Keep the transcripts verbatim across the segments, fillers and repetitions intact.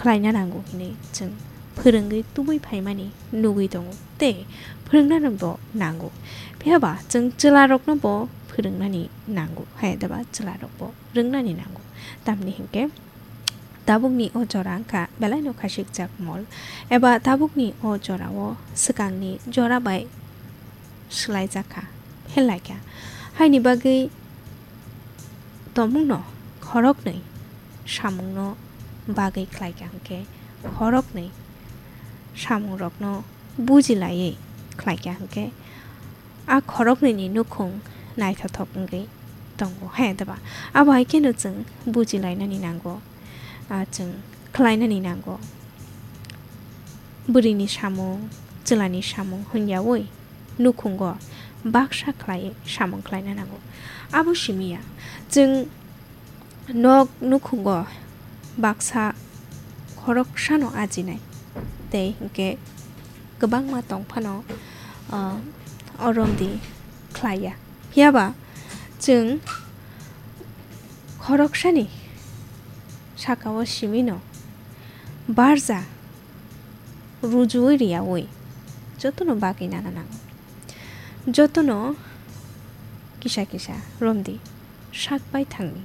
khlaina nango hinwi chwng phwrwngwi tubui phaimani nugwi tongo tei phwrwngnano bo nango. Phiya ba chwng chwlarokno bo phwrwngnani nango, hai da ba chwlarok bo rwngnani nango. Tamni hinkhe tabukni o jora wngkha belaino khasikjak mol, eba tabukni o jorao swkangni jora bai swlaijak kha, pherlaikha. Haini bagwi tongmungno khoroknwi samungno bagwi khlaikha hinkhe, khoroknwi samungrokno bujilaiwi khlaikha hinkhe, a khoroknwini nukhung naithothok wngwi tongo, hai da ba? Abo hai kheno chwng bujilainani nango, ah, chwng khlainani nango. Bwrwini samung, chwlani samung hwnyaui nukhungo baksa khlaiwi samung khlaina nango. Abo simi ya, chwng nok nukhungo baksa khoroksano ajinai, tei hinkhe kwbangma tongphano, ah, o romdi khlaiya. Phiya ba chwng khoroksani sakao simino barja rujuwi riyaui jotono bagwi nana nango. Jotono kisa kisa romdi sak bai thangni,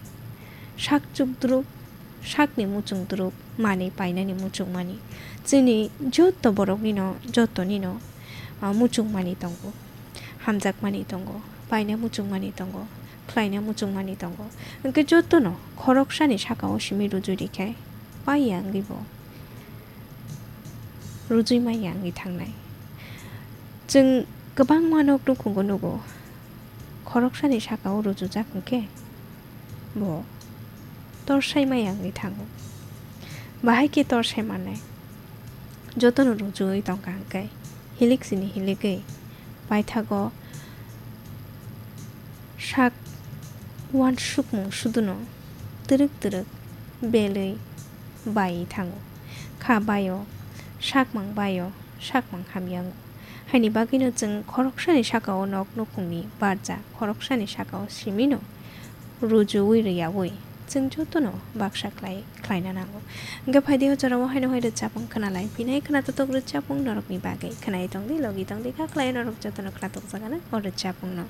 sak chukdruk, sakni muchungdruk manwi painani muchungmani. Chini joto boroknino, jotonino, ah, muchungmani tongo, hamjakmani tongo, paina muchungmani tongo, khlaina muchungmani tongo. Hinkhe jotono khoroksani sakao simi rujui rikhe paiya wngwi bo rujui manya wngwi thangnai. Chwng kwbangma nok nukhungo nugo, khoroksani sakao rujujak hinkhe bo torsai maya wngwi thango. Bahai khe torsai mannai? Jotono rujuwi tongkha hinkhe, hilik sini hiligwi paithago sak uansukmung suduno twrwk twrwk belwi baiwi thango. Kha baio, sakmang baio, sakmang hamya wngo. Haini bagwino chwng khoroksani sakao nok nukhungni barja, khoroksani sakao simino rujuwi rwyaui chwng jotono baksa khlai, khlaina nango. Hwnkhe phaidi o jorao haino hai rwchapmung khwnalai phinai, khwnatotok rwchapmung norokni bagwi. Khwnai tongdi, logi tongdi, kha khlai norok jotono khwnatok jagano o rwchapmungno.